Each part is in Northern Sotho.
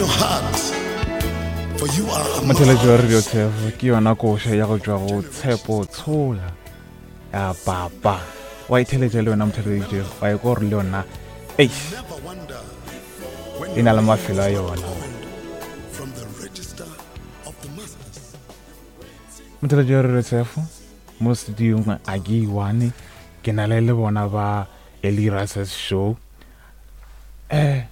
your heart, for you are a Motheletši wa Radio marvelous Tshefo ke yona koša ya go tšwa go Tshepo Tshola ya papa. Wa itheletša le yona motheletši wa e kwa gore le yona eish Never wonder when e na le your mafelo a names are yona. called from the register of the masters. Motheletši wa Radio Tshefo mo studiong a ke one ke na le le bona ba Eli Rases Show. Eh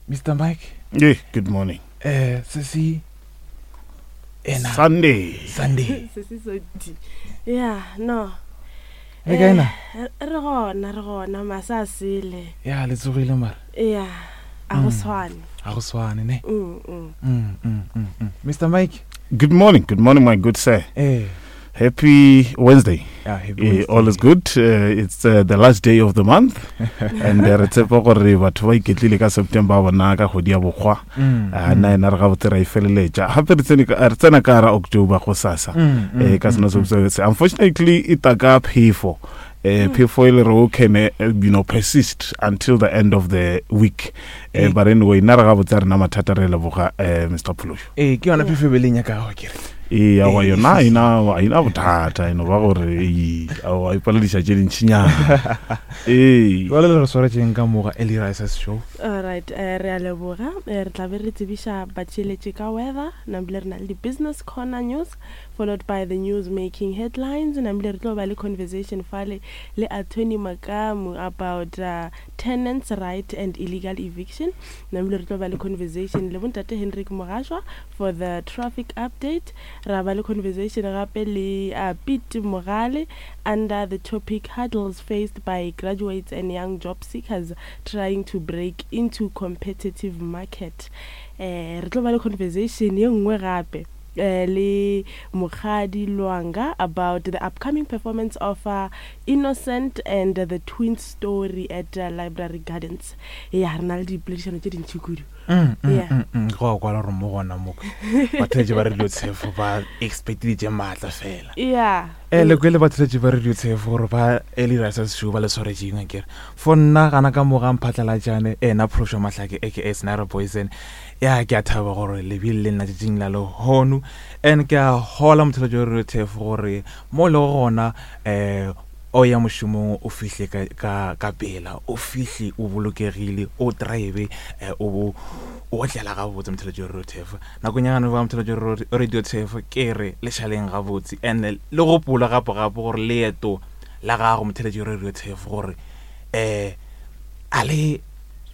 Mr Mike Yeah, good morning. eh sesi ena Sunday. Sunday. Se se so di. Yeah, no. Le kae na? Eh, Re gona, re gona, masa a sele. Ya le tsogile mara. Yeah, a go tshwane. A go swane ne. Mm, mm. Mr Mike. Good morning. Good morning, my good sir. Eh. Happy Wednesday. Yeah, happy Eh, Wednesday. all is good. It's the last day of the month. And re tshepa gore batho ba iketlile ka September ba bona ka kgwedi ya bokgwa. Ah, nna ena re gabotse ra e feleletša. Gape re tsene ka- re tsena ka gara October go sasa. Eh, ka sona se se. Unfortunately, e tla ka phefo. Eh, phefo e le re o can you know persist until the end of the week. Eh, but anyway, nna re gabotse re na mathata re leboga eh, Mr. Phološo. Ee, ke yona phefo e be le nyakago ke re. Ee, aowa yona a ena a ena bothata e no ba gore ee, aowa e palediša tše dintšinyana. Ee. Jwale le re swaretšeng ka moga Eli Rises Show. Alright, eh, re a leboga. Eh, re tla be re tsebiša batšheletši ka weather, nambile re na le di-business corner news, followed by the news making headlines, nambile re tlo ba le conversation fale le Attorney Makamu about tenants right and illegal eviction. Nambile re tlo ba le conversation le bontate Hendrik Mogashwa for the traffic update. Ra ba le conversation gape le Pete Mogale under the topic hurdles faced by graduates and young job seekers trying to break into competitive market. Eh, re tlo ba le conversation ye nngwe gape eh, le Mokgadi Lwanga about the upcoming performance of Innocent and the Twin Story at Library Gardens. Ya, re na le dipoledišano tše dintši kudu. Yeah. Go a kwala gore mo gona mo batheletši ba Radio Tshefo ba expectile tše maatla fela. Yeah. Eh, le kwele batheletši ba Radio Tshefo gore ba Eli Rises Show ba le swaretšeng akere. For nna gana ka moga mphatlalatšane ena Phološo Mahlake aka Snare Poison. Ya ke a thaba gore le bile le nna tšatšing la lehono and ke a hola motheletši wa Radio Tshefo gore mo le gona eh o ya mošomong o fihle ka, ka, ka pela, o fihle o bolokegile, o drive eh, o o otlela gabotse motheletši wa Radio Tshefo. Nakong ya gane ba motheletši wa Radio Tshefo ke re le šaleng gabotse and le gopola gape gape gore leeto la gago motheletši wa Radio Tshefo gore eh a le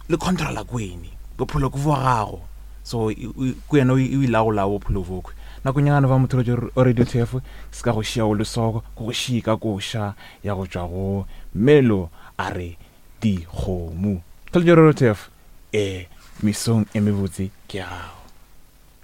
le controla kwene bophelo ke bwa gago, so ke wena o ilagola bophelo bokwe. Nakong ya gane ba motheletši wa Radio Tshefo se ka go šia o le soko go go šie ka koša ya go tšwa go Melo a re dikgomo. Motheletši wa Radio Tshefo eh mesong e mebotse ke ya gago.